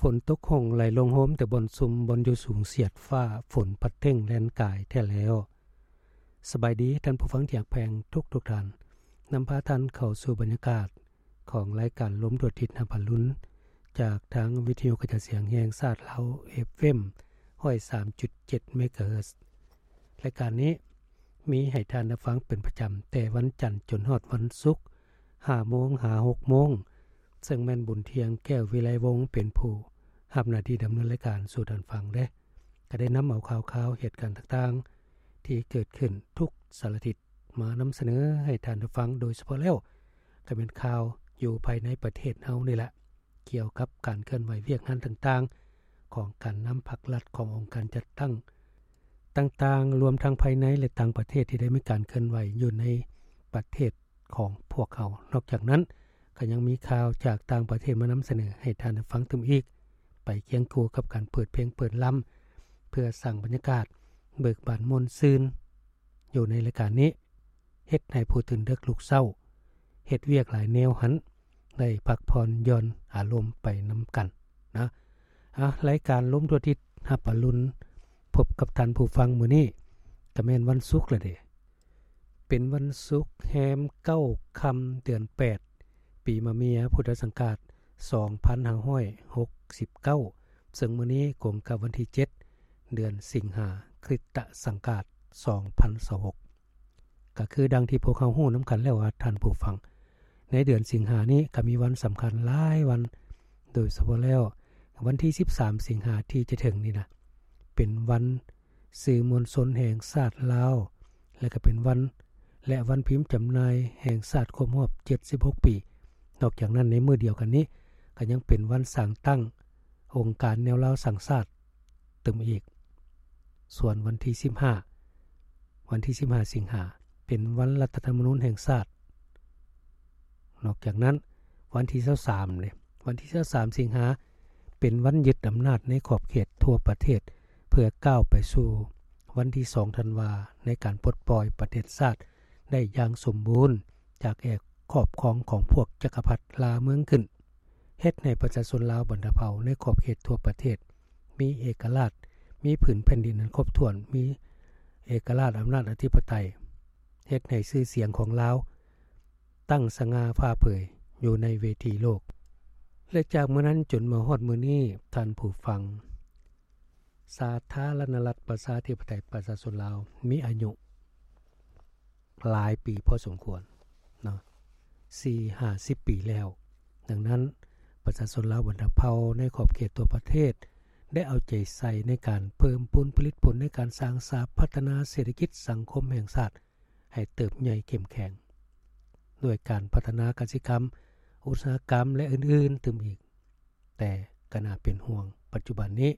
ຝົນຕົກຫົ່ງໄຫຼລົງໂຮມແຕ່ບ່ອນຊຸມ, ບ່ອນຢູ່ສູງສຽດຟ້າ, ຝົນພັດເທັງແລ່ນກາຍແທ້ແລ້ວ. ສະບາຍດີທ່ານຜູ້ຟັງທີ່ຮັກແພງທຸກໆທ່ານ, ນຳພາທ່ານເຂົ້າສູ່ບັນຍາກາດຂອງລາຍການລົມທົ່ວທິດຮັບອະລຸນ ຈາກທາງວິທະຍຸກະຈາຍສຽງແຫ່ງຊາດລາວ ເອຟເອັມ ຮ້ອຍສາມຈຸດເຈັດ ເມກາເຮີດ. ລາຍການນີ້ມີໃຫ້ທ່ານໄດ້ຟັງເປັນປະຈຳ ແຕ່ວັນຈັນຈົນຮອດວັນສຸກ ຫ້າໂມງຫາຫົກໂມງ, ເຊິ່ງແມ່ນບຸນທ່ຽງ ແກ້ວວິໄລວົງ ເປັນຜູ້ຮັບໜ້າທີ່ດຳເນີນລາຍການສູ່ທ່ານຟັງເດ້. ກໍໄດ້ນຳເອົາຂ່າວຄາວເຫດການຕ່າງໆ ທີ່ເກີດຂຶ້ນທຸກສາລະທິດ ມານຳສະເໜີໃຫ້ທ່ານໄດ້ຟັງ, ໂດຍສະເພາະແລ້ວກໍແມ່ນຂ່າວຢູ່ພາຍໃນປະເທດເຮົານີ້ແຫຼະ ກ່ຽວກັບການເຄື່ອນໄຫວວຽກງານຕ່າງໆ ຂອງການນຳພັກລັດ, ຂອງອົງການຈັດຕັ້ງຕ່າງໆ, ລວມທັງພາຍໃນ ແລະ ຕ່າງປະເທດທີ່ໄດ້ມີການເຄື່ອນໄຫວຢູ່ໃນປະເທດຂອງພວກເຮົາ. ນອກຈາກນັ້ນ ກໍຍັງມີຂ່າວຈາກຕ່າງປະເທດມານຳສະເໜີໃຫ້ທ່ານໄດ້ຟັງຕື່ມອີກ, ໄປຄຽງຄູ່ກັບການເປີດເພງເປີດລຳ ເພື່ອສ້າງບັນຍາກາດເບີກບານມ່ວນຊື່ນຢູ່ໃນລາຍການນີ້, ເຮັດໃຫ້ຜູ້ຕື່ນເດິກລຸກເຊົ້າ, ເຮັດວຽກຫຼາຍແນວຫັ້ນ ໄດ້ພັກຜ່ອນຢ່ອນອາລົມໄປນຳກັນນະ. ອາ ລາຍການລົມທົ່ວທິດຮັບອະລຸນ ພົບກັບທ່ານຜູ້ຟັງມື້ນີ້ ກໍແມ່ນວັນສຸກລະເດ. ເປັນວັນສຸກແຮມເກົ້າຄ່ຳເດືອນແປດ ປີມະເມຍ ພຸດທະສັງກາດສອງພັນຫ້າຮ້ອຍຫົກສິບເກົ້າ, ເຊິ່ງມື້ນີ້ກົງກັບວັນທີເຈັດ ເດືອນສິງຫາ ຄຣິສຕະສັງກາດສອງພັນຊາວຫົກ. ກໍຄືດັ່ງທີ່ພວກເຮົາຮູ້ນຳກັນແລ້ວວ່າທ່ານຜູ້ຟັງ, ໃນເດືອນສິງຫານີ້ກໍມີວັນສຳຄັນຫຼາຍວັນ, ໂດຍສະເພາະແລ້ວວັນທີສິບສາມສິງຫາທີ່ຈະເຖິງນີ້ນະ ເປັນວັນສື່ມວນຊົນແຫ່ງຊາດລາວ ແລະ ກໍເປັນວັນ ແລະ ວັນພິມຈຳໜ່າຍແຫ່ງຊາດຄົບຮອບເຈັດສິບຫົກປີ. ນອກຈາກນັ້ນ ໃນມື້ດຽວກັນນີ້ ກໍຍັງເປັນວັນສ້າງຕັ້ງອົງການແນວລາວສ້າງຊາດຕື່ມອີກ. ສ່ວນວັນທີສິບຫ້າ ວັນທີສິບຫ້າສິງຫາ ເປັນວັນລັດຖະທຳມະນູນແຫ່ງຊາດ. ນອກຈາກນັ້ນ ວັນທີຊາວສາມເດ້ ວັນທີຊາວສາມສິງຫາ ເປັນວັນຍຶດອຳນາດໃນຂອບເຂດທົ່ວປະເທດ ເພື່ອກ້າວໄປສູ່ວັນທີສອງທັນວາ ໃນການປົດປ່ອຍປະເທດຊາດໄດ້ຢ່າງສົມບູນ ຈາກແອກຄອບຄອງຂອງພວກຈັກກະພັດລ່າເມືອງຂຶ້ນ, ເຮັດໃຫ້ປະຊາຊົນລາວບັນດາເຜົ່າໃນຂອບເຂດທົ່ວປະເທດ ມີເອກະລາດ, ມີຜືນແຜ່ນດິນອັນຄົບຖ້ວນ, ມີເອກະລາດອຳນາດອະທິປະໄຕ, ເຮັດໃຫ້ຊື່ສຽງຂອງລາວຕັ້ງສະຫງ່າຜ່າເຜີຍຢູ່ໃນເວທີໂລກ. ແລະ ຈາກມື້ນັ້ນຈົນມາຮອດມື້ນີ້, ທ່ານຜູ້ຟັງ, ສາທາລະນະລັດປະຊາທິປະໄຕປະຊາຊົນລາວມີອາຍຸ ຫຼາຍປີພໍສົມຄວນເນາະ, ສີ່ຫ້າສິບປີແລ້ວ. ດັ່ງນັ້ນ ປະຊາຊົນລາວບັນດາເຜົ່າໃນຂອບເຂດທົ່ວປະເທດ ໄດ້ເອົາໃຈໃສ່ໃນການເພີ່ມພູນຜະລິດຜົນໃນການສ້າງສາພັດທະນາເສດຖະກິດສັງຄົມແຫ່ງຊາດໃຫ້ເຕີບໃຫຍ່ເຂັ້ມແຂງ ດ້ວຍການພັດທະນາກະສິກຳ, ອຸດສາຫະກຳ ແລະ ອື່ນໆຕື່ມອີກ. ແຕ່ກໍໜ້າເປັນຫ່ວງ, ປັດຈຸບັນນີ້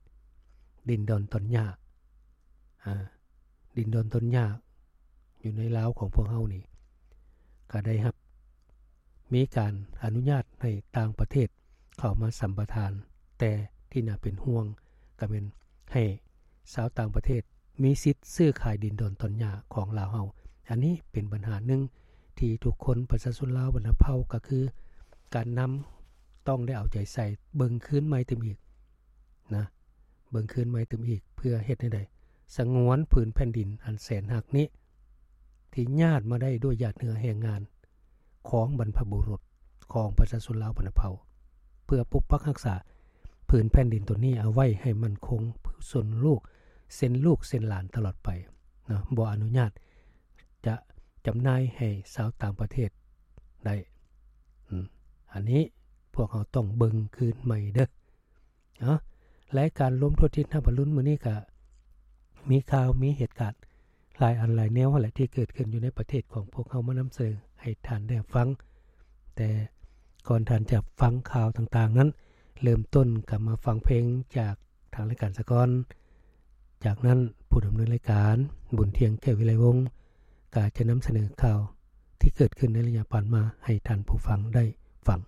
ດິນດອນຕອນຫຍ້າ, ອາ, ດິນດອນຕອນຫຍ້າຢູ່ໃນລາວຂອງພວກເຮົານີ້ ກໍໄດ້ຮັບ ມີການອະນຸຍາດໃຫ້ຕ່າງປະເທດເຂົ້າມາສຳປະທານ, ແຕ່ທີ່ໜ້າເປັນຫ່ວງກໍແມ່ນໃຫ້ຊາວຕ່າງປະເທດ ມີສິດຊື້ຂາຍດິນດອນຕອນຫຍ້າຂອງລາວເຮົາ. ອັນນີ້ເປັນບັນຫາໜຶ່ງທີ່ທຸກຄົນ ປະຊາຊົນລາວບັນດາເຜົ່າ ກໍຄືການນຳ ຕ້ອງໄດ້ເອົາໃຈໃສ່ເບິ່ງຄືນໃໝ່ຕື່ມອີກນະ, ເບິ່ງຄືນໃໝ່ຕື່ມອີກ ເພື່ອເຮັດໃຫ້ໄດ້ສະຫງວນຜືນແຜ່ນດິນອັນແສນຮັກນີ້ ທີ່ຍາດມາໄດ້ດ້ວຍຫຍາດເຫື່ອແຮງງານຂອງບັນພະບຸລຸດ ຂອງປະຊາຊົນລາວບັນດາເຜົ່າ ເພື່ອປົກປັກຮັກສາຜືນແຜ່ນດິນຕົວນີ້ເອົາໄວ້ໃຫ້ໝັ້ນຄົງ ເຊັ່ນລູກເຊັ່ນຫຼານຕະຫຼອດໄປເນາະ, ບໍ່ອະນຸຍາດຈະຈຳໜ່າຍໃຫ້ຊາວຕ່າງປະເທດໄດ້. ອາ ອັນນີ້ພວກເຮົາຕ້ອງເບິ່ງຄືນໃໝ່ເດີ້. ເນາະ ລາຍການລົມທົ່ວທິດຮັບອະລຸນມື້ນີ້ກະມີຂ່າວ ມີເຫດການຫຼາຍອັນຫຼາຍແນວຫັ້ນແຫຼະ ທີ່ເກີດຂຶ້ນຢູ່ໃນປະເທດຂອງພວກເຮົາມານຳສະເໜີໃຫ້ທ່ານໄດ້ຮັບຟັງ. ແຕ່ກ່ອນທ່ານຈະຟັງຂ່າວຕ່າງໆນັ້ນ ເລີ່ມຕົ້ນກໍມາຟັງເພງຈາກທາງລາຍການສາກ່ອນ. ຈາກນັ້ນ ຜູ້ດຳເນີນລາຍການ ບຸນທ່ຽງ ແກ້ວວິໄລວົງ ກໍຈະນຳສະເໜີຂ່າວທີ່ເກີດຂຶ້ນໃນໄລຍະຜ່ານມາໃຫ້ທ່ານຜູ້ຟັງໄດ້ຟັງ.